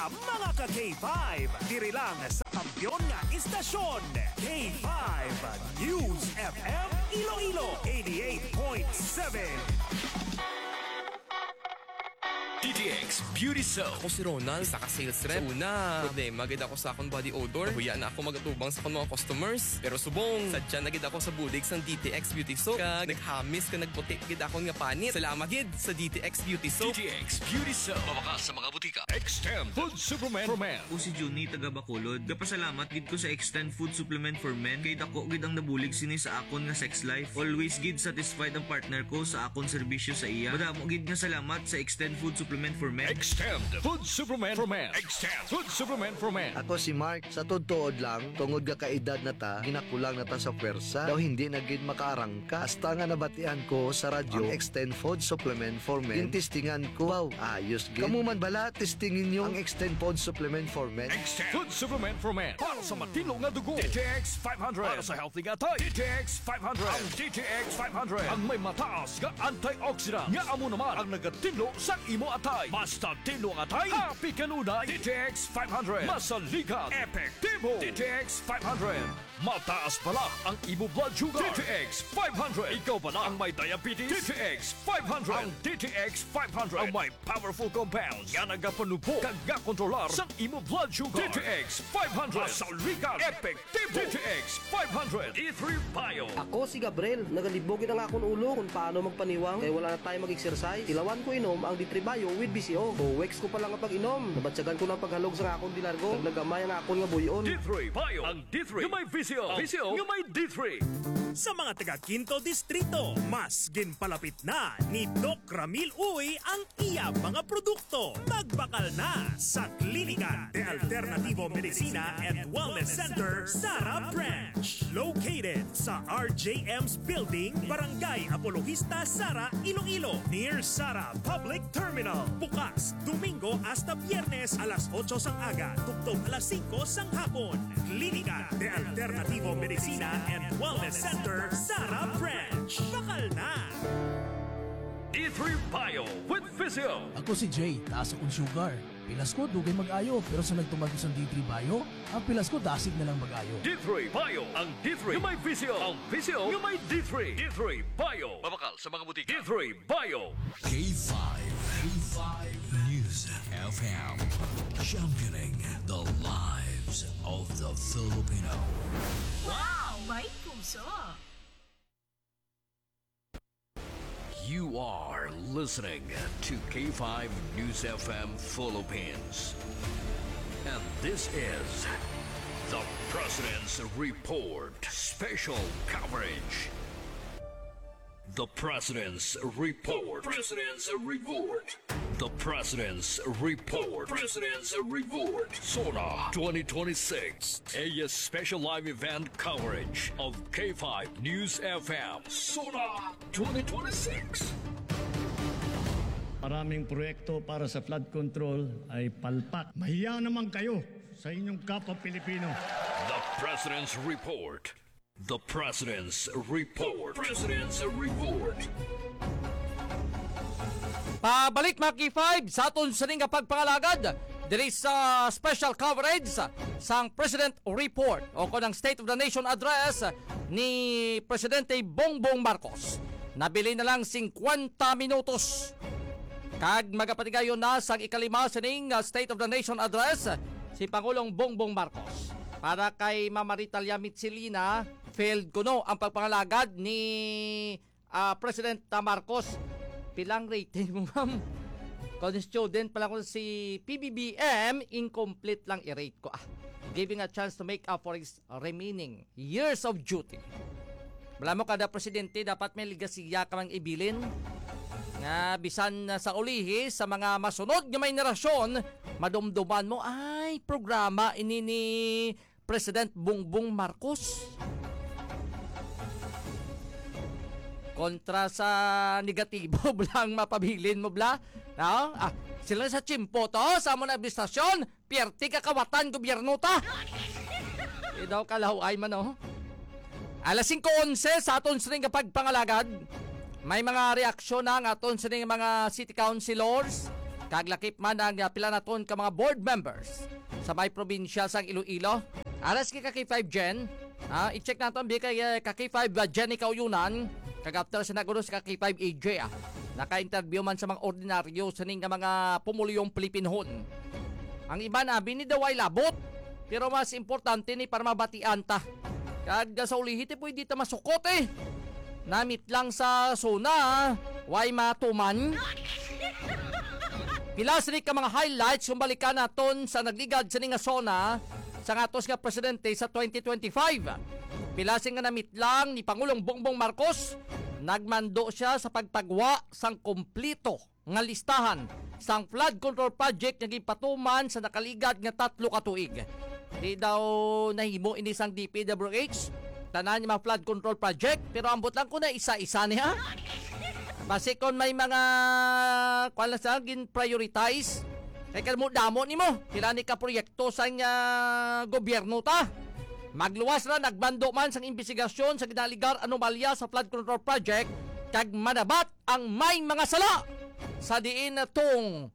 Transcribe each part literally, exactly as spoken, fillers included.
Mga ka K five, diri lang sa kampiyon nga istasyon, K five News F M Iloilo, eighty-eight point seven. D T X Beauty Soap. Ako si Ronald, isa ka sales rep. Sa una, problema gid ako sa akong body odor. Nahuya na ako magatubang sa akong mga customers. Pero subong, sadya na gid ako sa bulig sang D T X Beauty Soap. Kag naghamis ka nagputi gid akon nga panit. Salamat gid sa D T X Beauty Soap. D T X Beauty Soap. Mabakal sa mga butika. Extend Food Supplement for Men. Ako si Junie, taga Bacolod. Gapasalamat gid ko sa Extend Food Supplement for Men kay dako gid ang nabulig sini sa akon nga sex life. Always gid satisfied ang partner ko sa akon serbisyo sa iya. Madamo gid nga salamat sa Extend Food Supplement for Men. Extend Food Supplement for Men. Extend Food Supplement for Men. Ako si Mark. Sa tuod-tuod lang, tungod nga kaedad na ta, ginakulang na ta sa pwersa. Daw hindi na gid makaarangka. Hasta nga nabatian ko sa radyo ang Extend Food Supplement for Men, gintistingan ko. Wow, ayos gid. Kamo man bala, testingi ninyo ang Extend Food Supplement for Men. Extend Food Supplement for Men. Para sa matinlo nga dugo, D T X five hundred. Para sa healthy nga atay, D T X five hundred. Ang D T X five hundred ang may mataas nga antioxidant nga amo naman ang nagatinlo sa imo atay. Basta tinlo ang atay, happy kanunay. D T X five hundred. Masaligan, epektibo. D T X five hundred. Mataas bala ang imo blood sugar, D T X five hundred. Ikaw bala ang may diabetes, D T X five hundred. Ang D T X five hundred ang may powerful compounds nga nagapanubo kag gakontrolar sang imo blood sugar, D T X five hundred. Masaligan, epektibo, D T X five hundred. D three Bio. Ako si Gabriel. Nagalibog gid ang akon ulo kung paano magpaniwang kay wala na tayo mag-exercise. Tilawan ko inom ang D three Bio with V C O. Two weeks ko pa lang nga pag-inom, nabatyagan ko na ang paghalog sa akon dilargo. Naglagamay ang akon nga buy-on. D three Bio. Ang D three nga may V C O. Ang V C O nga may D three. Sa mga taga Quinto Distrito, mas ginpalapit na ni Doc Ramil Uy ang iya mga produkto. Magbakal na sa Klinika de Alternativo Medicina and Wellness Center, Sara Branch. Located sa R J M's Building, Barangay Apologista, Sara, Iloilo, near Sara Public Terminal. Bukas Domingo hasta Biyernes alas otso sang aga, tubtob alas singko sang hapon. Klinika de Alternativo Medicina and Wellness Center, Sara Branch. Bakal na! D three Bio with Physio. Ako si Jay, taas akong sugar. Pilas ko, dugay mag-ayo, pero sa nagtuman ko sang D three Bio, ang pilas ko dasig na lang mag-ayo. D three Bio, ang D three nga may V C O, ang V C O nga may D three. D three Bio. Mabakal sa mga butika. D three Bio. K five, K five News F M, championing the lives of the Filipino. Wow! May puso! You are listening to K five News F M Philippines. And this is the President's Report Special Coverage. The President's Report. President's Report. The President's Report. President's Report. SONA twenty twenty-six, a special live event coverage of K five News F M. SONA twenty twenty-six. Maraming proyekto para sa flood control ay palpak. Mahiya naman kayo sa inyong kapwa Pilipino. The President's Report. The President's Report. President's Report. Pabalik, mga K five, sa aton sini nga pagpangalagad diri sa special coverage sang President Report o kon ang State of the Nation Address ni Presidente Bongbong Marcos. Nabilin na lang singkwenta minutos kag magapatigayon na sang ikalima sining, ah, State of the Nation Address si Pangulong Bongbong Marcos. Para kay Ma'am Maritalia Mitsilina, failed kuno ang pagpangalagad ni, ah, President, ah, Marcos. Pilang rating mo, ma'am? Kung student pa lang ko si P B B M, incomplete lang i-rate ko. Ah, giving a chance to make up for his remaining years of duty. Wala mo, kada presidente dapat may legasiya ka mang ibilin, nga bisan sa ulihi sa mga masunod nga mga henerasyon, madumduman mo, "Ay, programa ini ni President Bongbong Marcos." Kontra sa negatibo, bala ang mapabilin mo, bala. No? Ah, sila sa tiyempo to, sa amo na administrasyon, piyerte ka kawatan gobyerno ta. Di daw kalaw-ay man, oh. Alas singko onse sa aton sining nga pagpangalagad. May mga reaksyon na ang aton sining mga city councilors. Kag lakip man ang, ah, pila naton ka mga board members sa may probinsya sang Iloilo. Aras kay ka K five Jen, ah, i-check naton bi kay, eh, ka K five, ah, Jenny Kauyunan, kag after sa nagulo sa ka K five A J, ah, naka-interview man sa mga ordinaryo sining nga mga pumuluyong Pilipinhon. Ang iban abi ni daw ay labot, pero mas importante ni para mabatian ta. Kag sa ulihi, ti pwede ta masukot, eh. Namit lang sa SONA, way matuman. Pila sini ka mga highlights kung balikan naton sa nagligad sini nga SONA sa atos nga presidente sa twenty twenty-five. Pila sini nga namit lang ni Pangulong Bongbong Marcos, nagmando siya sa pagpagwa sang kompleto nga listahan sang flood control project nga ginpatuman sa nakaligad nga tatlo ka tuig. Di daw nahimo ini sang D P W H, tanan nga mga flood control project, pero ambot lang ko na isa-isa niya. Basi kon may mga, kuwan lang sa, gin-prioritize, kay kadamo-damo nimo, pila ni ka proyekto sang, ah, gobyerno ta. Magluwas ra, nagmando man sang imbestigasyon sa ginaligar anomalya sa flood control project, kag manabat ang may mga sala sa diin tong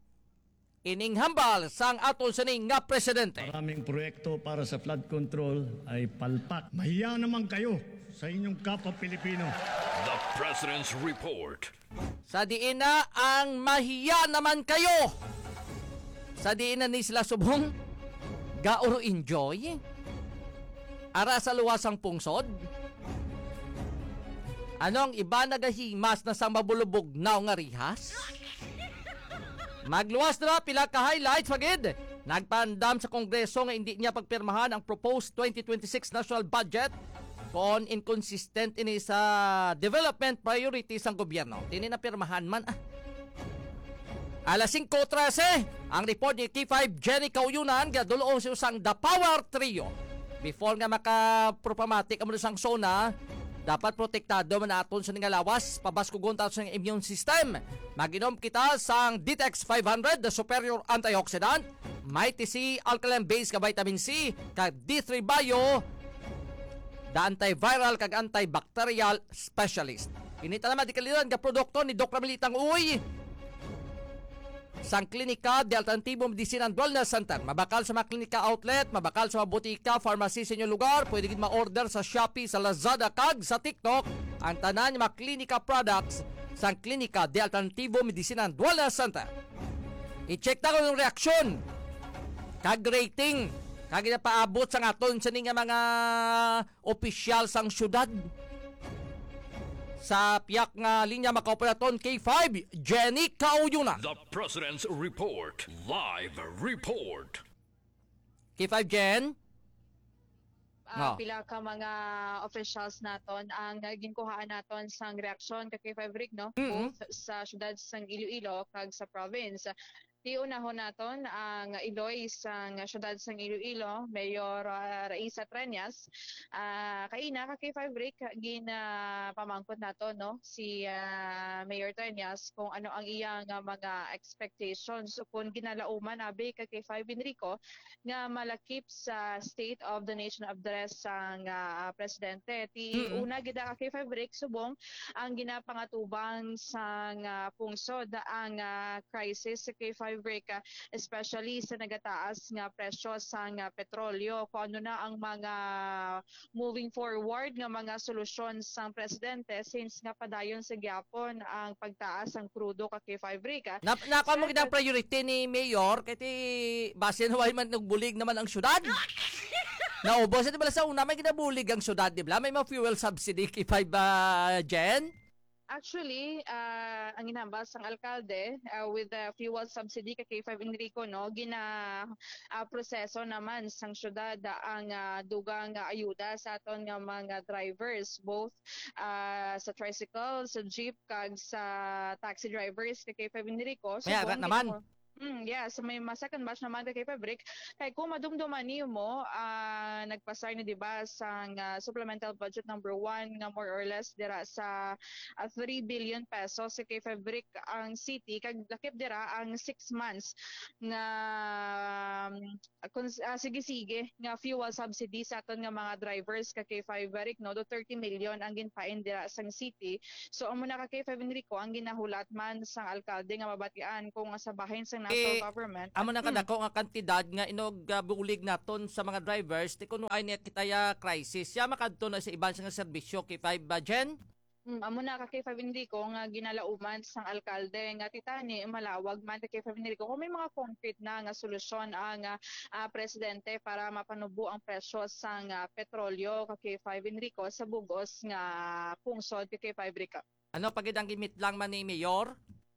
ining hambal sang aton sini nga presidente. Maraming proyekto para sa flood control ay palpak. Mahiya naman kayo sa inyong kapwa Pilipino. The President's Report. Sa diin na ang mahiya naman kayo. Sa diin na ni sila subong gauro enjoy. Ara sa luwas ang pungsod. Ano ang iba nagahimas na sa mabulubog na nga rihas? Magluwas na pila ka highlights, pagid. Nagpaandam sa Kongreso nga hindi niya pagpirmahan ang proposed twenty twenty-six national budget kung inconsistent ini sa development priorities sang gobyerno. Tini na pirmahan man, ah. Alas singko trese, ang report ni K five Jenny Kauyunan, gadulong sa usang The Power Trio. Before nga makaproklamatik ang sang SONA, dapat protektado man naton sa nga lawas, pabaskugon ta sa immune system. Mag-inom kita sang Detox five hundred, the superior antioxidant, Mighty C, alkaline base nga vitamin C, kag D three Bio, the antiviral kag antibacterial specialist. Ini tanan madikaliran nga produkto ni Doc Ramilitang Uy. Sang Klinika de Alternativo Medicina and Wellness Center. Mabakal sa mga klinika outlet, mabakal sa mga butika, pharmacy sa inyong lugar. Pwede gid ma-order sa Shopee, sa Lazada, kag sa TikTok. Ang tanan nga mga klinika products sang Klinika de Alternativo Medicina and Wellness Center. I-check ta kung yung reaksyon kag rating kag ginapaabot sang aton sini nga mga opisyal sang syudad. Sa piyak nga linya, makaupod naton K five, Jenny Kauyunan. The President's Report. Live report. K five, Jen? Ah, No. Pila ka mga officials naton ang ginkuhaan naton sang reaksyon ka K five Rick, no? Mm-mm. Both sa syudad sang Iloilo kag sa province. Tiunahon naton ang Iloy sang syudad sang Iloilo, Mayor, ah, Raisa Treñas. Ah, kaina ka K five Rick, ginapamangkot nato, no, si, ah, Mayor Treñas kung ano ang iyang, ah, mga expectations o kung ginalauman abi ka K five Enrico nga malakip sa State of the Nation Address sang, ah, presidente. Ti Mm-mm. una gid ka K five Rick subong ang ginapangatubang sang, ah, pungsod ang, ah, crisis sa K five Rick, ah, especially sa nagataas nga presyo sang, ah, petrolyo. Kung ano na ang mga moving forward nga mga solusyon sang presidente since nga padayon sa gyapon ang pagtaas sang krudo ka K five Rick, ah. Nap-, nakuha mo Sir, gid ang priority ni Mayor kay ti basin way man nagbulig naman ang syudad. Naubos, di ba, sa una may ginabulig ang syudad, di ba? May mga fuel subsidy, K five, ah, Jen? Actually, ah, ang ginhambal sang alkalde, ah, with the fuel subsidy ka K five Enrico, no, gina, ah, proseso naman sang syudad ang, ah, dugang, ah, ayuda sa aton nga mga drivers, both, ah, sa tricycle, sa jeep, kag sa taxi drivers ka K five Enrico. May ara Subong naman. Ginawa, Mm, yes, may ma-, second batch naman ka K five Rick. Kay kung madumduman nimo, ah, nagpasar ni, di ba, sang, ah, supplemental budget number one nga more or less dira sa, ah, three billion pesos sa K five Rick ang city, kag lakip dira ang six months nga, um, kung, ah, sige-sige nga fuel subsidy sa aton nga mga drivers ka K five Rick, no, do thirty million ang ginpain dira sang city. So, amo na ka K five Enrico ang ginahulat man sang alkalde nga mabatian kung sa bahin sang national Eh, government. Amo nang kadako nga kantidad nga inog, ah, bulig naton sa mga drivers, ti kuno ay niya kita ya crisis. Siya makadto na sa iban sa nga serbisyo, K five, ah, Jen? Mm, amo na ka K five Enrico nga ginalauman sang alkalde nga titani malawag man ka K five Enrico kung may mga concrete na nga solusyon ang, ah, ah, presidente para mapanubo ang presyo sang, ah, petrolyo ka K five Enrico sa bugos nga pungsod ka K five Enrico. Ano pa gid ang gimitlang man ni Mayor?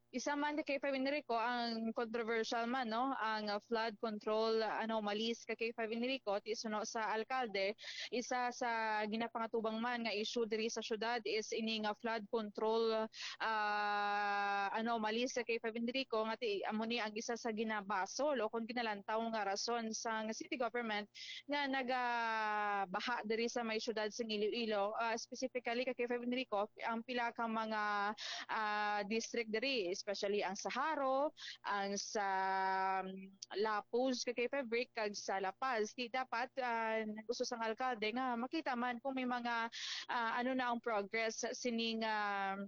Isa man ka K five Enrico ang controversial man, no, ang, ah, flood control anomalies ka K five Enrico ti suno sa alkalde. Isa sa ginapangatubang man nga issue diri sa syudad is ini nga flood control, ah, anomalies sa K five Enrico nga ti amo ni ang isa sa ginabasol o kung ginalantaw nga rason sang city government nga nagabaha diri sa may syudad sang Iloilo, ah, specifically ka K five Enrico, ang pila ka mga, ah, district diri, especially ang sa Jaro, ang sa, um, Lapuz, ka K five Brick, kag sa La Paz. Di dapat, ah, gusto sang alkalde nga makita man kung may mga, ah, ano na ang progress sining, ah,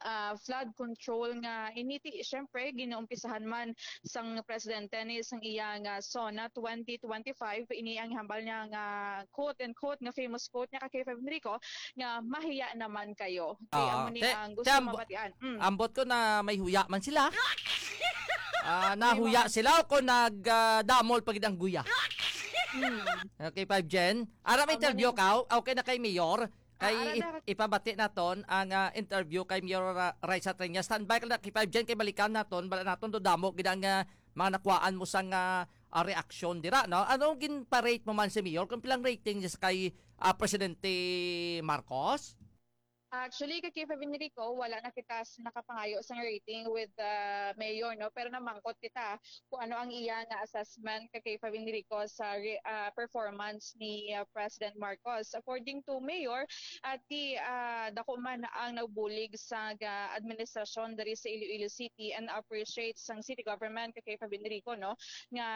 ah, flood control nga ini ti, syempre, ginuumpisahan man sang presidente ni sang iya nga SONA twenty twenty-five. Ini ang hambal niya nga quote and quote nga famous quote niya ka K five Enrico nga mahiya naman kayo. Kay Ah, amo ni te-, ang gusto te, ambo-, mabatian. Mm. Ambot ko na may huya man sila. Ah, nahuya sila o kung nag, ah, damol pa gid ang guya. Mm. Okay, five Jen. Ara may Amo interview ni ka? Okay na kay Mayor. Kay Ah, ara ip-, na. Ipabati naton ang, ah, interview kay Mayor, ah, Raisa Triñas. Standby ka na kay five Jen kay balikan naton. Bala naton do damo gid ang, ah, mga nakuhaan mo sang, ah, ah, reaksyon dira, no? Anong gin-parade mo man si Mayor? Kung pilang rating niya sa kay, ah, Presidente Marcos? Actually, kay K five Enrico, wala na kita s-, nakapangayo sang rating with the mayor, no? Pero namangkot kita kung ano ang iya nga assessment kay K five Enrico sa re-, ah, performance ni, ah, President Marcos. According to Mayor, at di, ah, dako man ang nagbulig sa ga-, administrasyon diri sa Iloilo City and appreciate sang city government kay K five Enrico, no? Nga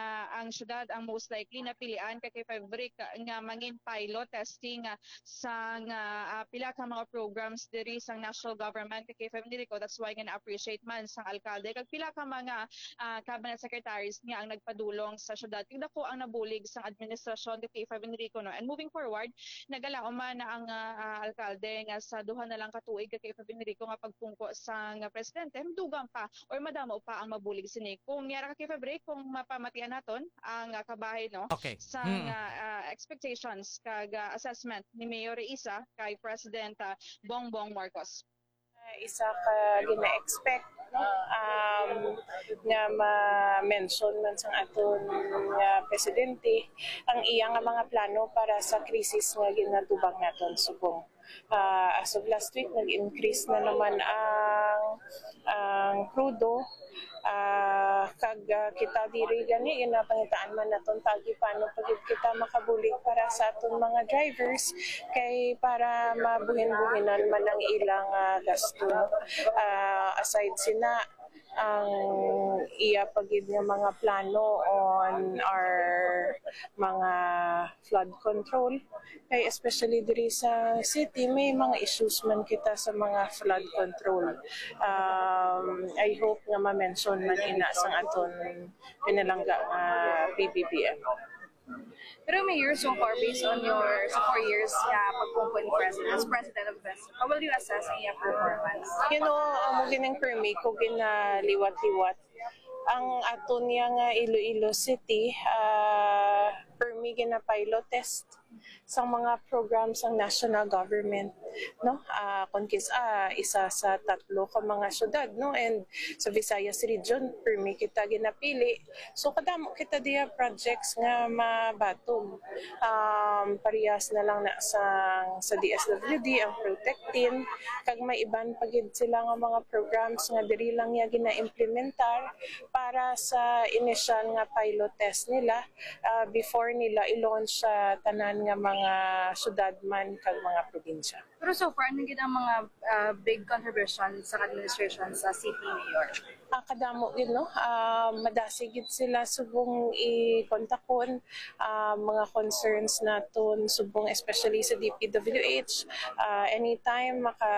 ang syudad ang most likely napilian kay K five Brick nga mangin pilot testing, ah, sang, ah, ah, pila ka mga programs diri sang national government kay K five Enrico. That's why nga na-appreciate man sang alkalde kag pila ka mga, ah, cabinet secretaries nga ang nagpadulong sa syudad. Kag dako ang nabulig sang administrasyon kay K five Enrico, no? And moving forward, nagalaom man na ang, ah, ah, alkalde nga sa duha na lang ka tuig kay K five Enrico nga pagpungko sang presidente, dugang pa or madamo pa ang mabulig sini. Kung yara ka K five Enrico, kung mapamatian naton ang, ah, kabahin, no? Okay. Sang, Hmm. ah, ah, expectations kag, ah, assessment ni Mayor Raisa kay President, ah, Bongbong Marcos. Ah, isa ka gina-expect, no? Um, nga ma-mention man sang aton nga presidente ang iya nga mga plano para sa krisis nga ginatubang naton subong. Ah, as of last week, nag-increase na naman ang, ang krudo. Ah, kag, ah, kita diri gani, ginapangitaan man naton tagi paano pa gid kita makabulig para sa aton mga drivers, kay para mabuhin-buhinan man ang ilang, ah, gasto. Ah, aside sina, ang iya pa gid nga mga plano on our mga flood control. Kay especially diri sa city, may mga issues man kita sa mga flood control. Um, I hope nga ma-mention man ina sang aton pinalangga nga P B B M. Pero Mayor, so far, based on your, sa four years nga pagpungko ni President, as President of the Fest, how will you assess ang iyang performance? You know, amo gining permi ko ginaliwat-liwat. Ang aton niya nga Iloilo City, ah, permi gina-pilot test sa mga programs sang national government, no? Ah, kung kis-, ah, isa sa tatlo ka mga syudad, no? And sa Visayas region, permi kita ginapili. So, kadamo kita diya projects nga mabaton. Um, parehas na lang na sa, sa D S W D, ang Protect Team, kag may iban pa gid sila nga mga programs nga diri lang niya gina-implementar para sa inisyal nga pilot test nila, ah, before nila i-launch sa tanan nga mga syudad man kag mga probinsya. Pero so far, ano gid ang mga, ah, big contribution sa administration sa city mayor? Ah, kadamo gid, no? Ah, madasig gid sila subong i-kontakon, ah, mga concerns naton subong, especially sa D P W H. Ah, anytime maka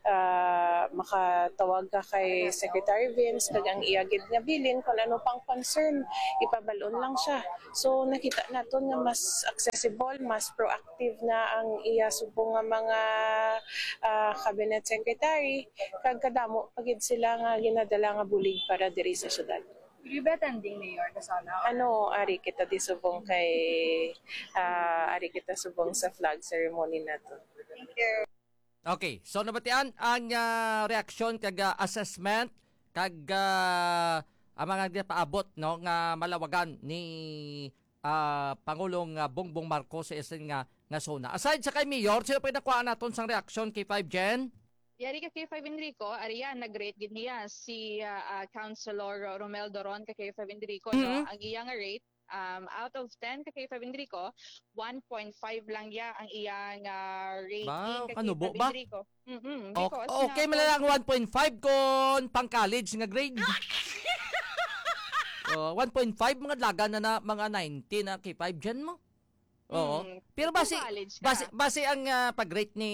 ah, makatawag ka kay Secretary Vince kag ang iya gid nga bilin kung ano pang concern, ipabal-on lang siya. So nakita naton nga mas accessible, mas proactive na ang iya subong nga mga, ah, cabinet secretary, kag kadamo pa gid sila nga ginadala nga bulig para diri sa syudad. Will you be attending, Mayor Casana? Ano, ari kita di subong kay, ah, ari kita subong sa flag ceremony nato. Thank you. Okay, so nabatian ang, ah, reaksyon kag, ah, assessment kag, ah, ang mga nagpaabot, no, nga malawagan ni, ah, Pangulong, ah, Bongbong Marcos sa isin nga, nga SONA. Aside sa kay Mayor, sino pa nakuha naton sang reaksyon, K five Jen? Yari ka K five Enrico, ariya nag-rate gid niya si ah, ah, Councilor Romel Doron ka K five Enrico, no? Mhm. Ang iya nga rate, um, out of ten ka K five Enrico, one point five lang ya ang iyang ah, rating Ba, ka kanubo K five ba? Enrico. Mm-mm, Okay, because okay nga, man lang one point five kung pang-college nga grade. Oh, one point five, mga dalagan na, na mga ninety na K five Jen mo. Oo. Mm, Pero kung basi college ka. basi basi ang ah, pag-rate ni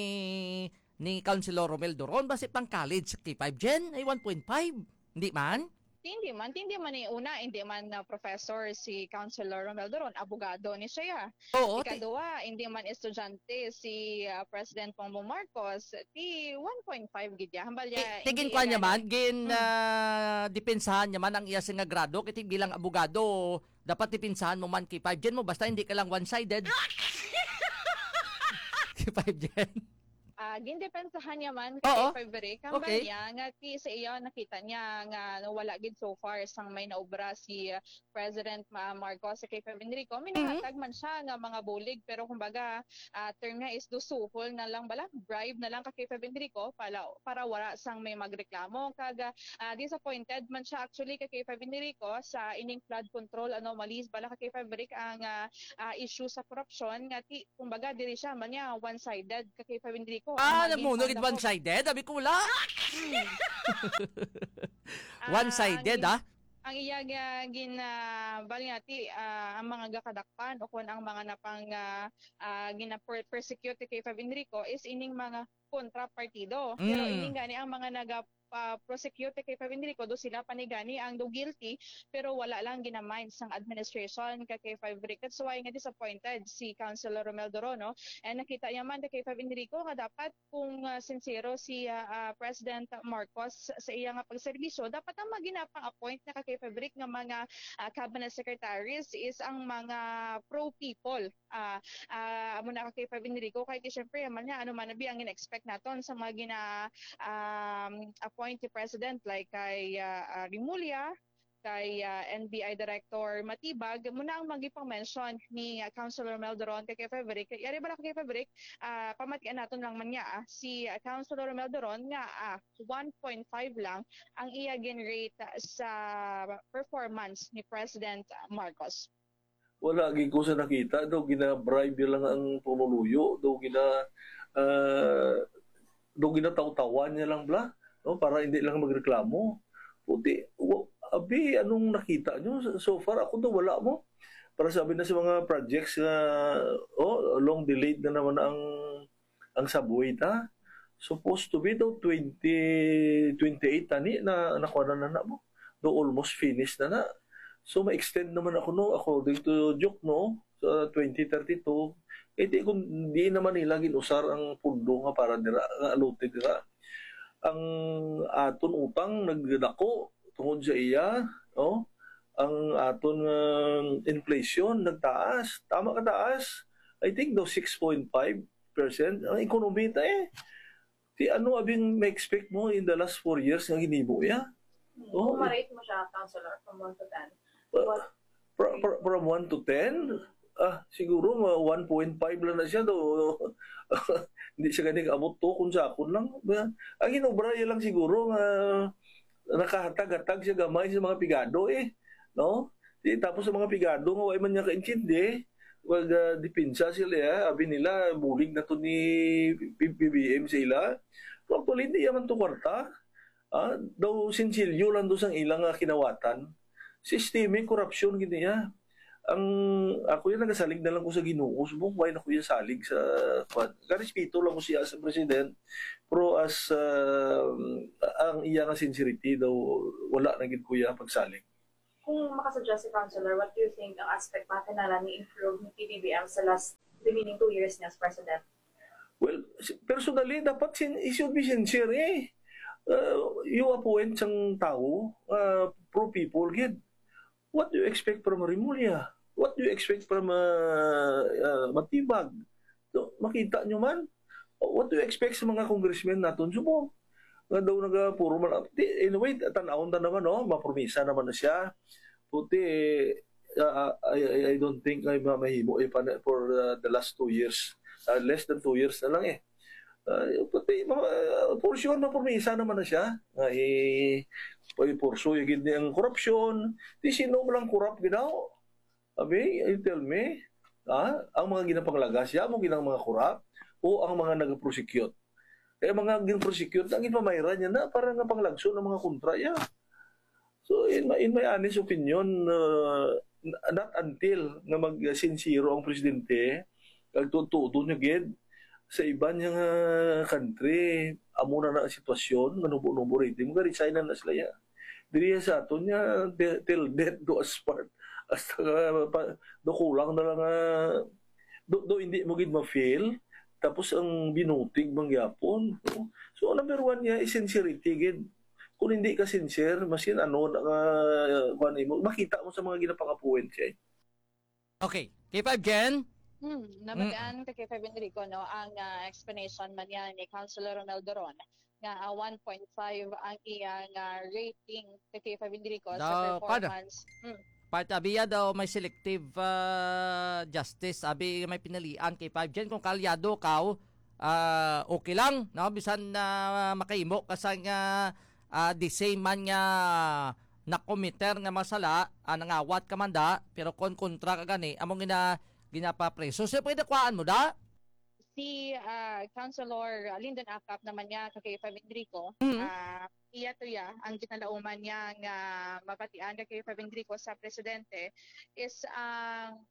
ni Councilor Romel Doron, basi pang college sa K five Jen ay one point five. Hindi man? Hindi man, hindi man ni una, hindi man na professor si Councilor Romel Doron, abogado ni siya. Oo. ti- Ikaduha, hindi man estudyante si ah, President Bongbong Marcos, ti one point five gid ya. Hambal ya, Ti- Tigin kwa niya man, gin ah, depensahan niya man ang iya sing nga grado, kay bilang abogado, dapat depensahan mo man K five Jen mo, basta hindi ka lang one-sided. K five Jen. Ah, gindepensahan niya man Oo. kay Frederick. Ang Okay. Niya nga ti sa iya nakita niya nga no, wala gid so far sang may naobra si ah, President Ma- Marcos sa kay Frederico. May Mhm. nahatag man siya nga mga bulig, pero kumbaga ah, term nga is dusuhol na lang bala, bribe na lang ka kay Frederico para para wala sang may magreklamo. Kag ah, disappointed man siya actually ka kay Frederico sa ining flood control anomalies bala ka kay Frederick ang ah, ah, issue sa korupsyon nga ti kumbaga diri siya man niya one-sided ka kay Frederico. Ah, Ang nagmuno maging gid one-sided, sabi ko wala. Ah, One-sided, ang, ah. Ang iya nga gin ah, bali nga ti ah, ang mga gakadakpan o kun ang mga napang ah, ah, gina-persecute kay Fab Enrico is ining mga kontra partido. Pero Mm. ining gani ang mga naga ah, prosecute kay Fab Enrico, do sila pa ni gani ang do guilty, pero wala lang ginamind sang administration ka kay Fab Enrico. That's why nga disappointed si Councilor Romel Dorono. And nakita niya man kay Fab Enrico nga dapat kung ah, sincero si ah, ah, President Marcos sa iya nga pagserbisyo, dapat ang mga ginapang-appoint na ka kay Fab Enrico nga mga ah, cabinet secretaries is ang mga pro-people. Ah, ah, amo na ka kay Fab Enrico, kay ti syempre man niya ano man abi ang in-expect naton sa mga gina um, appoint ni President, like kay ah, ah, Remulla, kay ah, N B I Director Matibag, muna ang magipang-mention ni ah, Councilor Mel Doron kay, kay Frederick. Yari ba na kay Frederick? Ah, pamatian naton lang man niya ah, si ah, Councilor Mel Doron nga ah, one point five lang ang iya gin-rate ah, sa performance ni President Marcos. Wala gid ko sa nakita, daw gina-bribe lang ang pumuluyo, daw gina ah, daw ginatawtawan niya lang bla, no, para hindi lang magreklamo. Puti, wa- abi, anong nakita nyo so far? Ako daw wala mo. Para sabi na sa mga projects nga, oh, long delayed na naman ang ang subway ta. Supposed to be daw twenty twenty-eight tani na nakuha na na mo. Daw almost finished na na. So ma-extend naman ako no, according to Duke no, sa twenty thirty-two. Eh di kung di naman nila ginusar ang pundo nga para dira, nga allotted dira. Ang aton utang nagdako tungod sa iya, no? Ang aton nga inflation nagtaas, tama ka taas. I think daw six point five percent ang ekonomiya ta eh. Di ano abing ma-expect mo in the last four years nga ginimo ya? Oh, ma-rate mo siya, counselor, from one to ten. Well, from, from, from one to ten, ah, siguro mga one point five lang na siya. Do, hindi siya ganing abot to kung sa akon lang. Ang inobra niya lang siguro nga nakahatag-hatag siya gamay sa mga pigado eh. No? Di, tapos sa mga pigado nga wala man niya kaintindi, wag uh, depensa sila ya. Abi nila, bulig na to ni B B M sa ila. Pero actually, hindi yaman to kwarta. Ah, daw sinsilyo lang daw sang ilang, ah, kinawatan. Systemic corruption gid niya. Ang, ako yan, nagasalig na lang ko sa Ginoo, subong why na ko yan salig sa, kwan. Karespeto lang ko siya sa president, pero as, ah, ang iya nga sincerity daw, wala na gid ko iya pagsalig. Kung makasuggest si Councilor, what do you think ang aspect nga kinahanglan ni improve ni P B B M sa last remaining two years niya as president? Well, si-, personally, dapat sin-, he should be sincere, eh. Uh, you appoint sang tao, uh, pro people gid. What do you expect from Remulla? What do you expect from, uh, uh, Matibag? So, makita nyo man, what do you expect sa mga congressmen naton subong? Nga daw naga-, puro man, di, anyway, tan-awon ta naman, no? Mapromisa naman na siya. Puti, uh, I, I, I don't think ay ma-, mahimo, eh, pa-, for, uh, the last two years. Uh, less than two years na lang, eh. Uh, puti, ma-, uh, for sure, mapromisa naman na siya. Nga, eh, pay-, pursue gid ni ang korupsyon. Di sino mo lang korap ginaw? Abi, you tell me, ha? Ang mga ginapanglagas, ya mo ginang mga korap o ang mga nag-prosecute? Eh, mga gin-prosecute, ang ginpamayran niya na para nga panglagso ng mga kontra, ya. So, in my, in my honest opinion, uh, n-, not until nga mag-sincero ang presidente, kag tuod-tuod niya gid, sa iban niya nga country, amo na na ang sitwasyon, nga nubo-nubo rating, mag-resign na na sila, ya. Diri sa aton niya, till, till death do us part. Hasta nga, pa, do kulang na lang nga, do, do hindi mo gid ma-fail, tapos ang binutig mangyapon, no? So, number one niya is sincerity gid. Kung hindi ka sincere, masin ano na nga, kuwan mo, makita mo sa mga ginapangapuin siya, eh. Okay. K five Jen? Hmm, Mm. nabatian ka, K five Enrico, no? Ang, ah, explanation man yan ni Councilor Ronaldo Ron nga, ah, one point five ang iyang, ah, rating ka, K five Enrico, sa Daw, kada. performance. Hmm. Part, abi ya daw may selective, ah, justice. Abi may pinilian, K five Jen. Kung kaalyado ka, ah, okay lang, no? Bisan na makahimo ka sang, ah, ah, the same man nga nakomiter nga mga sala, ah, nangawat ka man da, pero kon kontra ka gani, amo gina-, ginapapreso. So, pwede kuhaan mo da? Si, ah, Councilor Lyndon Acap naman niya, ka K five Enrico, Mm. ah, iya to ya, ang ginalauman niya nga mabatian ka K five Enrico sa presidente is ang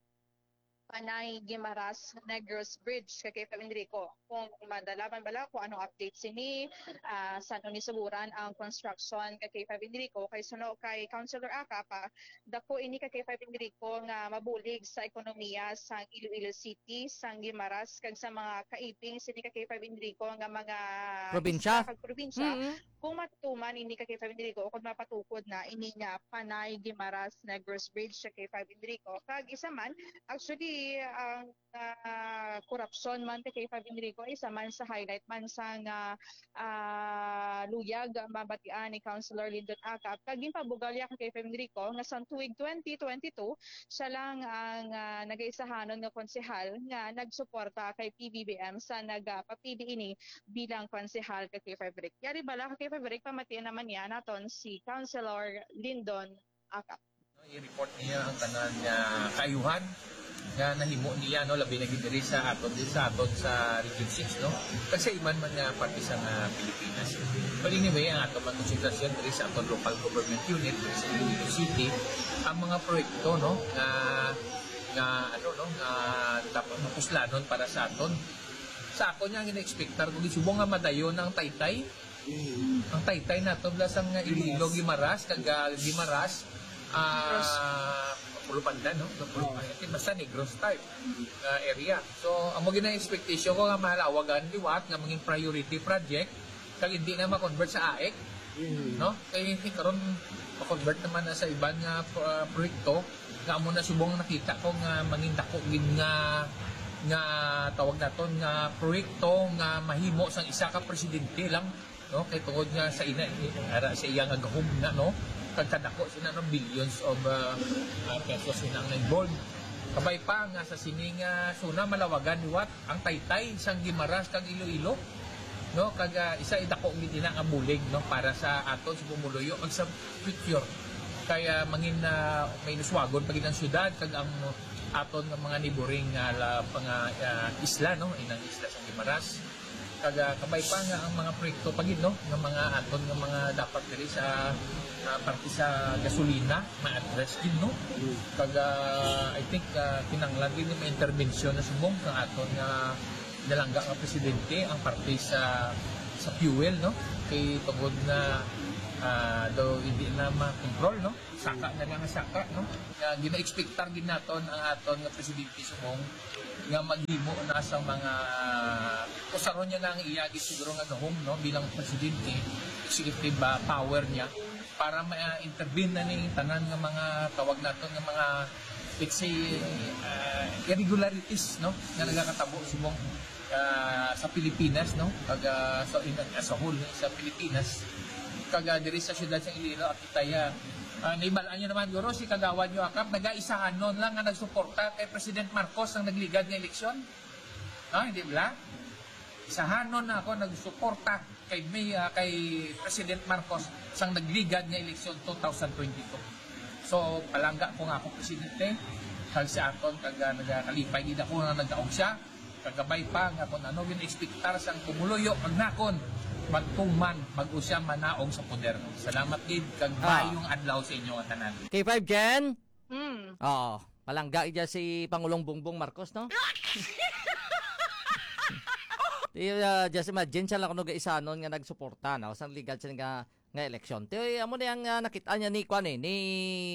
Panay Guimaras Negros Bridge, ka K five Enrico. Kung madala man bala kung anong update sini, ah, san-o ni suguran ang construction, ka K five Enrico, kay suno kay Councilor Acap, dako ini, ka K five Enrico, nga mabulig sa ekonomiya sang Iloilo City, sang Guimaras, kag sa mga kaibing sini, ka K five Enrico, nga mga Probinsya? isla kag probinsya. Mm. Kung matuman ini, ka K five Enrico, o kung mapatukod na ini nga Panay Guimaras Negros Bridge, ka K five Enrico. Kag isa man, actually, ang, ah, korupsyon man, ka K five Enrico, isa man sa highlight man sang, ah, ah, luyag mabatian ni Councilor Lyndon Acap. Kag ginpabugal niya, ka K five Enrico, nga sa tuig twenty twenty-two, siya lang ang, ah, nagaisahanon nga konsehal nga nagsuporta kay P B B M sa nagapapili ini bilang konsehal, ka K five Rick. Yari bala, ka K five Rick, pamatiin naman niya naton si Councilor Lyndon Acap. I-report niya ang tanan nga kaayuhan nga nahimo niya, no, labi na gid diri sa aton, diri sa aton sa Region six, no, kag sa iban man nga parte sa nga Pilipinas. But anyway, ang aton man konsentrasyon diri sa aton local government unit, diri sa Iloilo City, ang mga proyekto, no, nga, nga, ano, no, nga dapat mapuslanon para sa aton. Sa akon nga gina-expectar ko, gisubong nga madayon ang Taytay. Mm. Ang Taytay nato bala sang Iloilo, Guimaras, kag, ah, Guimaras, ah, Negros. Pulupandan, no? Pulupandan. Oo. Basta Negros type, ah, area. So, amo gina expectation ko nga mahalawagan liwat nga mangin priority project kag hindi na ma-convert sa AIC, Mm. no? Kay karon ma-convert naman na sa iban nga, ah, proyekto nga amo na subong nakita ko nga mangin dako gid nga, nga tawag naton nga proyekto nga mahimo sang isa ka presidente lang, no? Kay tungod nga sa ina, ara sa iya nga gahom na, no? Kag kadako sina, no, billions of, ah, ah, pesos sina ang involved. Kabay pa nga sa sini nga suna malawagan liwat ang Taytay sang Guimaras kag Iloilo, no? Kag, ah, isa idako gid ina nga bulig, no, para sa aton sa pumuluyo kag sa future. Kay, ah, mangin, ah, mainuswagon pa gid ang syudad kag ang aton nga mga neighboring nga la-, mga, ah, isla, no? Inang isla sang Guimaras. Kag, ah, kabay pa nga ang mga proyekto pa gid, no, nga mga aton nga mga dapat diri sa, ah, parte sa gasolina ma-address gid, no. Kag, ah, I think, ah, kinahanglan gid ni may interbensyon na subong sa aton nga dalangga nga presidente ang parte sa, sa fuel, no, kay tungod nga, ah, daw hindi na makontrol, no, saka na lang ang saka, no, nga gina-expectar gid naton ang aton nga presidente subong nga maghimo na sa mga usaron niya na ang iya gid siguro nga gahom, no, bilang presidente, executive, ah, power niya para ma-intervene na ning tanan nga mga tawag naton nga mga, let's say, ah, irregularities, no, nga nagakatabo subong, ah, sa Pilipinas, no, kag, ah, so in, as a whole sa Pilipinas, kag, ah, diri sa siyudad sa Iloilo, akita ya, ah, naibalaan nyo naman guro si kagawad nyo Akap, nagaisahanon lang nga nagsuporta kay President Marcos ang nagligad nga eleksyon. Ah, hindi bala? Isahanon na ako nagsuporta kay May, ah, kay President Marcos sang nagligad nga eleksyon two thousand twenty-two. So, palangga ko nga akong presidente, kag si Akon, kag, ah, nagakalipay gid ako nga nagdaog siya, kagabay pa nga kung ano gin-expectar sang pumuluyo kag nakon, matuman bag-o siya manaog sa poder. Salamat gid, kag Ah. maayong adlaw sa inyo nga tanan. K five Jen? Hmm. Oo. Palangga iya si Pangulong Bongbong Marcos, no? Di, ah, just imagine siya lang kuno gaisanon nga nagsuporta, no? Sang ligad siya nga, nga eleksyon. Ti, amo na yang, ah, nakita niya ni, kwan eh, ni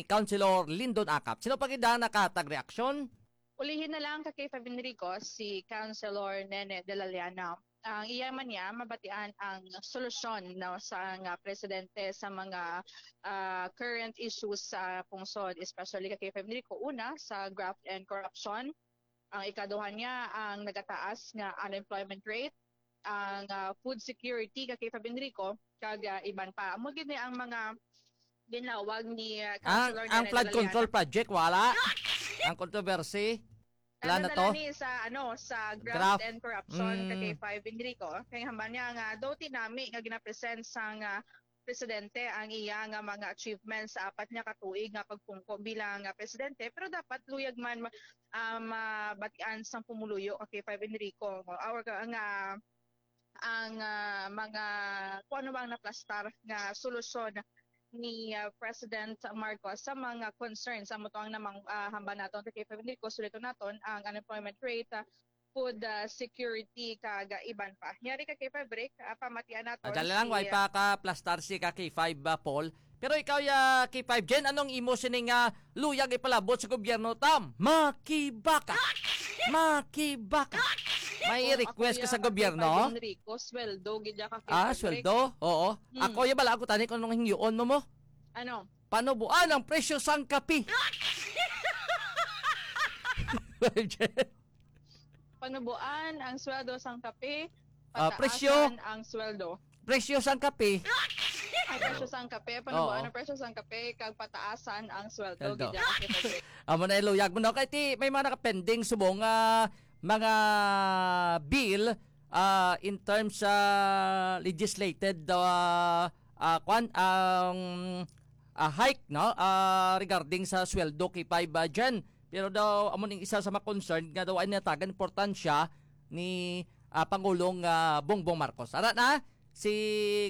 Councilor Lindon Akap. Sino pa gid ang nakahatag reaksyon? Ulihin na lang ka K five Enrico, si Councilor Nene de la Llana. Ang iya man niya, mabatian ang solusyon, no, sa nga presidente sa mga, ah, current issues sa pungsod, especially ka K five Enrico. Una, sa graft and corruption. Ang ikaduha niya, ang nagataas nga unemployment rate. Ang, ah, food security ka K five Enrico, kag, ah, iban pa. Amo gid ni ang mga ginlawag ni, ah, Ang, Councilor ang Nene flood de la control Llana. Project, wala. Ang controversy, wala Ano na na to? lang ni sa, ano, sa graft Graft. and corruption ka Mm. K five Enrico. Kay hambal niya nga, daw tinami nga ginapresent sang, ah, presidente ang iya nga mga achievements sa apat niya ka tuig nga pagpungko bilang, ah, presidente. Pero dapat luyag man ma-, ah, mabatian sang pumuluyo ka K five Enrico. Or ka, nga ang, ah, mga kung ano bang naplastar nga solusyon ni, ah, President Marcos sa mga concerns. Amo to ang namang, ah, hambal naton, K five Enrico, suliton naton ang unemployment rate, ah, food, ah, security, kag, ah, iban pa. Yari ka, K five Rick, ah, pamatian naton Ah, dali lang, si, way pa ka plastar si ka K five, ah, Paul. Pero ikaw, ya, K five Jen, anong imo sining, ah, luyag ipalabot sa gobyerno, Tam? Makibaka! Makibaka! May Kung request ako ka ya sa ka gobyerno? K five Enrico, sweldo, gid ya ka, K five Ah, Rick. sweldo? Oo. Hmm. Ako, ya, bala ako tani kung anong hingyoon mo mo. Ano? Panubuan ang presyo sang kape. Panubuan ang sweldo sang kape, Ah, presyo. pataasan ang sweldo. Presyo sang kape. Ay, presyo sang kape, panubuan Oo. ang presyo sang kape, kag pataasan ang sweldo. Sweldo. Gid yan, Ate Frederick. Amo na iluyag mo, no? Kay ti, may mga nakapending subong, ah, mga bill, ah, in terms sa legislated, ah, ah, kwan, ang, ah, hike, no? Ah, regarding sa sweldo kay five, ah, Jen. Pero daw, amo ning isa sa mga concern nga daw ay natagan importansya ni, ah, Pangulong, ah, Bongbong Marcos. Ara na, si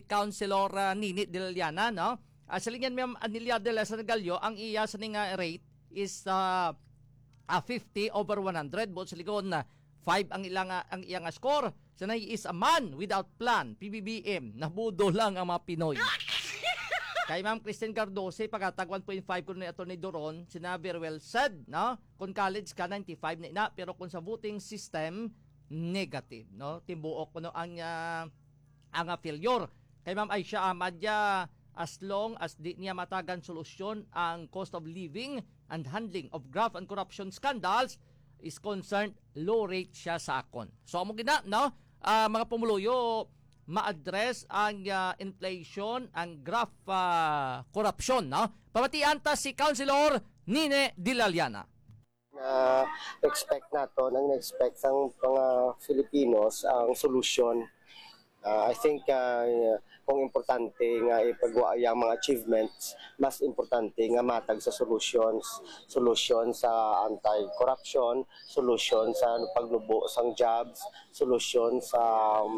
Councilor, ah, Nini de la Llana, no? Ah, silingan, Ma'am Anilia de la Sanagallo, ang iya sa ning, ah, rate is, ah, ah, fifty over one hundred. Buot silingon, ah, five ang ila nga, ang iya nga score. Sanay is a man without plan, P B B M, nabudo lang ang mga Pinoy. Kay Ma'am Christine Cardoso, pagatag one point five kuno ni Attorney Doron, sina very well said, no? Kung college ka, ninety-five na ina, pero kung sa voting system, negative, no? Timbuok kuno ang, ah, ang, ah, failure. Kay Ma'am Aisha Ahmad, ya, as long as di niya matagan solusyon ang cost of living and handling of graft and corruption scandals is concerned, low rate siya sa akon. So, amo gina, no? Ah, mga pumuluyo, ma-address ang, ah, inflation, ang graft, ah, corruption, no? Pamatian ta si Councilor Nene de la Llana. Na-expect nato, ang na-expect sang mga Filipinos ang solusyon. Ah, I think, ah, kung importante nga ipagwa ang mga achievements, mas importante nga matag sa solutions, solusyon sa anti-corruption, solusyon sa pagnubo sang jobs, solusyon sa, um,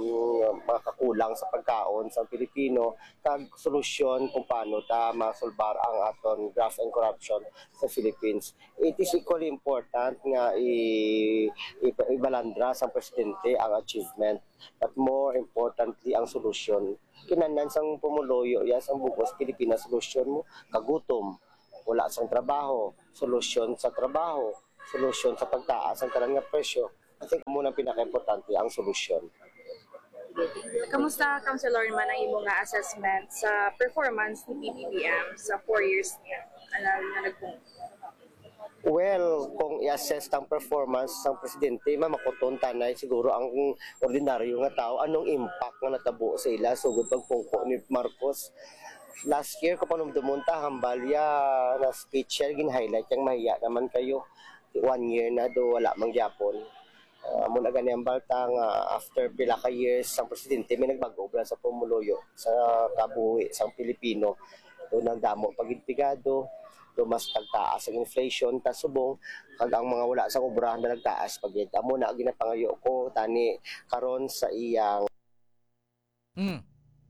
mga kakulang sa pagkaon sa Pilipino, kag solusyon kung paano ta masulbar ang aton graft and corruption sa Philippines. It is equally important nga i-, i-, ibalandra sang presidente ang achievement, but more importantly ang solusyon. Kinahanglan sang pumuluyo ya sang bug-os Pilipinas, solusyon mo kagutom, wala sang trabaho, solusyon sa trabaho, solusyon sa pagtaas ang tanan nga presyo. I think mo nang pinakaimportante ang solusyon. Kamusta, Councilor, man ang imo nga assessment sa performance ni P B B M sa four years niya? Ano nga nagpung- Well, kung i-assess ang performance sang presidente, mamakuton tanay siguro ang ordinaryo nga tao anong impact nga natabo sa ila sugod pagpungko ni Marcos. Last year, kung panumdumon ta, hambal ya na speech siya, gin-highlight yang mahiya naman kayo. One year na do, wala man gyapon. Ah, amo na gani ang balta nga after pila ka years sang presidente, may nagbag-o bala sa pumuluyo sa kabuhi sang Pilipino. Do nagdamo pa gid pigado, do mas nagtaas ang inflation, ta subong kag ang mga wala sang obra na nagtaas pa gid. Amo na ang ginapangayo ko tani karon sa iyang Hmm.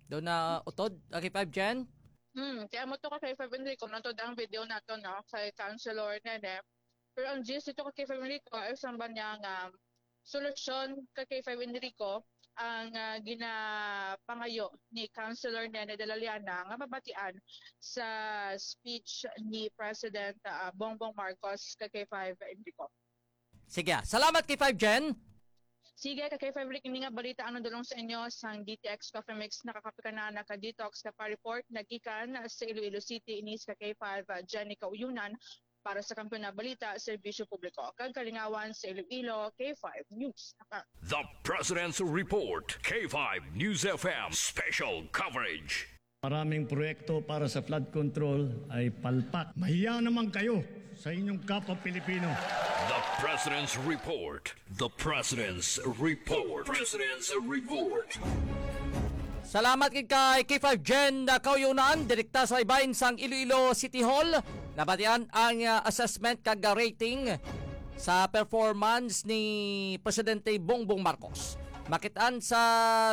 Do na utod, okay, five Jen? Hmm, kaya mo to ka kay Five Enrico, nantod ang video nato, no, kay Councilor Nene. Pero ang gist dito ka kay Five Enrico ay samba niya nga solusyon ka kay Five Enrico ang ah, ginapangayo ni Councilor Nene de la Liana nga mabatian sa speech ni President ah, Bongbong Marcos ka kay Five Enrico. Sige, ah. Salamat kay five Jen. Sige, ka kay Five Rick, ini nga balita ang nadulong sa inyo sang D T X Coffee Mix. Nakakape ka na, naka-detox ka pa. Report nagikan sa Iloilo City, ini si ka kay five ah, Jenny Kauyunan para sa Kampiyon na Balita, Serbisyo Publiko, kag Kalingawan sa Iloilo, K five News. Naka- The President's Report, K five News F M Special Coverage. Maraming proyekto para sa flood control ay palpak. Mahiya naman kayo sa inyong kapwa Pilipino. The President's Report. The President's Report. President's Report. Salamat gid kay K five Jen Kauyunan, direkta sa ibahin sang Iloilo City Hall. Nabatian ang ah, assessment kag rating sa performance ni Presidente Bongbong Marcos. Makitaan sa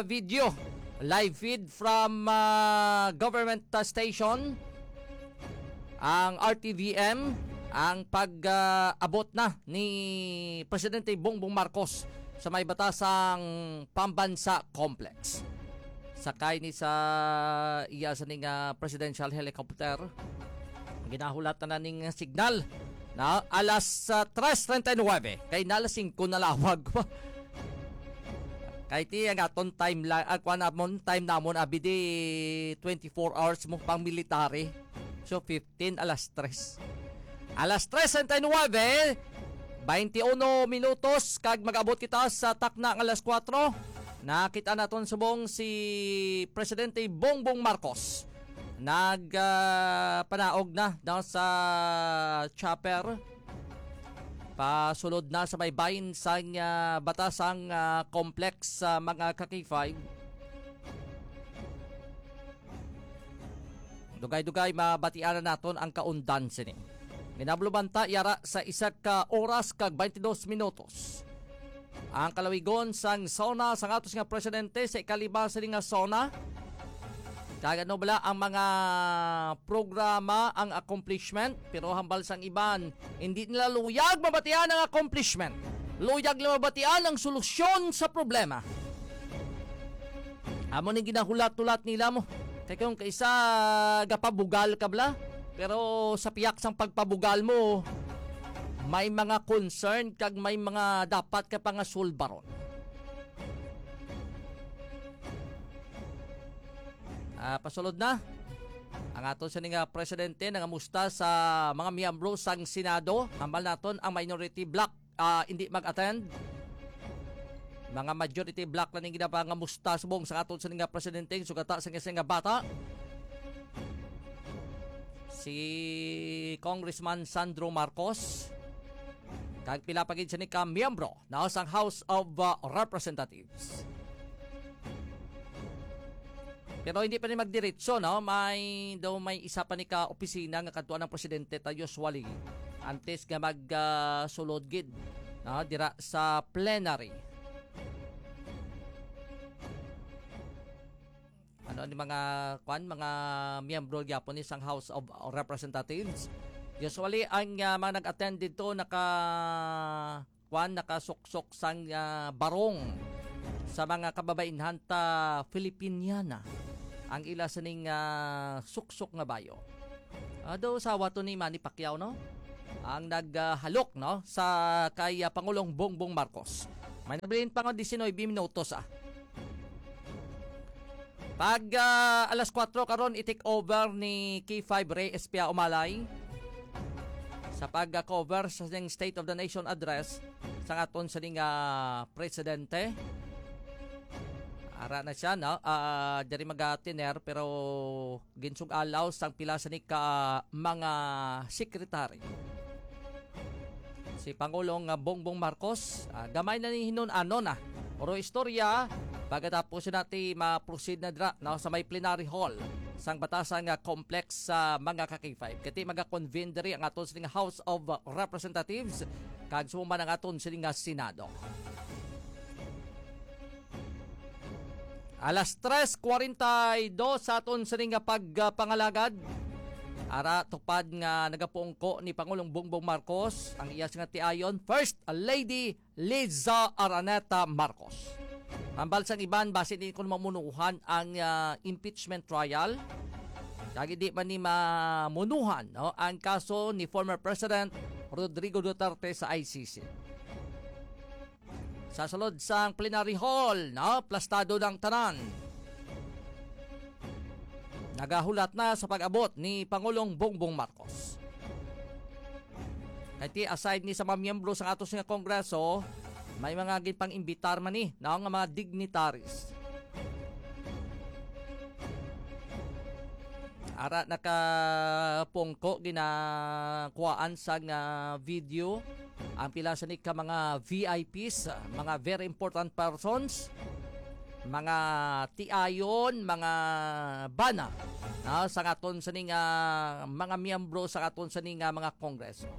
video, live feed from ah, government ah, station ang R T V M ang pag-abot na ni Presidente Bongbong Marcos sa may Batasang Pambansa Complex. Sakay ni sa iya sa ning ah, presidential helicopter. Ginahulat na ning signal na alas ah, tres treinta y nueve kay na alas singko na lawag pa. Kay ti ang aton time la, ah, kuan namon, time namon abi di twenty-four hours mo pang military. So fifteen alas tres. Alas tres treinta y nueve, bainti uno minutos kag mag-abot kita sa takna nga alas kuwatro. Nakita naton subong si Presidente Bongbong Marcos nag ah, panaog na daw sa chopper. Pasulod na sa may bahin sang ah, Batasang ah, Complex sa mga ka-K five. Dugay-dugay mabatian na naton ang kaundan sini. Ginabluban ta yara sa isa ka oras kag twenty-dos minutos. Ang kalawigon sang SONA sang atos nga presidente sa ikalima sini nga SONA. Kag ano bala ang mga programa, ang accomplishment, pero hambal sang iban, hindi nila luyag mabatian ang accomplishment. Luyag nila mabatian ang solusyon sa problema. Amo ni ginahulat-hulat nila mo. Kay kung kaisa gapabugal ka bala, pero sa piyak sang pagpabugal mo, may mga concern kag may mga dapat ka pangasulbaron. Ah, pasulod na. Ang aton sini nga presidente nangamusta sa mga miyembro sang Senado, hambal naton ang minority bloc, ah, hindi mag-attend. Mga majority bloc na ning ginapangamusta subong sa aton sini nga presidente, sugata sa nga bata. Si Congressman Sandro Marcos kag pila pa gid sini ka miyembro na sang House of uh, Representatives. Pero hindi pa ni magdiretso, no? May daw, may isa pa ni ka opisina nga kadtuan ang presidente ta usually antes nga mag ah, sulod gid, no? Dira sa plenary. Ano ni mga kwan, mga miyembro gyapon ni sang House of Representatives. Usually ang ah, mga nag-attend dito naka kwan, nakasuksok sang ah, barong sa mga kababainhan ta Filipiniana ang ila sining ah, suksok nga bayo. Ado sawa to ni Manny Pacquiao, no? Ang naghalok, no, sa kay ah, Pangulong Bongbong Marcos. May nabilin pa nga diecinuebe minutos ah. Pag ah, alas kuwatro karon, i-take over ni K five Rey Espia Umalay sa pag-cover sa siyang State of the Nation Address sa aton sining ah, presidente. Ara na siya, no? Ah, diri magatiner, pero ginsug-alaw sang pila sini ka mga secretary. Si Pangulong ah, Bongbong Marcos, ah, gamay na ni hinun-ano na. Puro istorya, pagkatapos nati ma-proceed na dira, no, sa may plenary hall sang Batasan nga complex sa mga ka-K five. Kati maga-convene diri ang aton sining House of Representatives kag sumang ang aton sining nga Senado. Alas tres kuwarenta y dos sa aton sining nga pagpangalagad. Ara, tupad nga nagapungko ni Pangulong Bongbong Marcos ang iya nga tiayon, First Lady Liza Araneta Marcos. Hambal sang iban, basi di ko mamunuhan ang ah, impeachment trial. Kag di man ni mamunuhan, no, ang kaso ni former President Rodrigo Duterte sa I C C. Sa sulod sang plenary hall, no, plastado ng tanan. Nagahulat na sa pag-abot ni Pangulong Bongbong Marcos. Kay ti aside ni sa mga miyembro sa ato nga kongreso, may mga ginpang-imbitar man ni, no, nga mga dignitaries. Ara, nakapungko, ginakuhaan sa nga video ang pila sa ni ka mga V I Ps, mga very important persons, mga tiayon, mga bana, no, sa aton sa ni nga mga miyembro sa aton sa ni nga mga kongreso.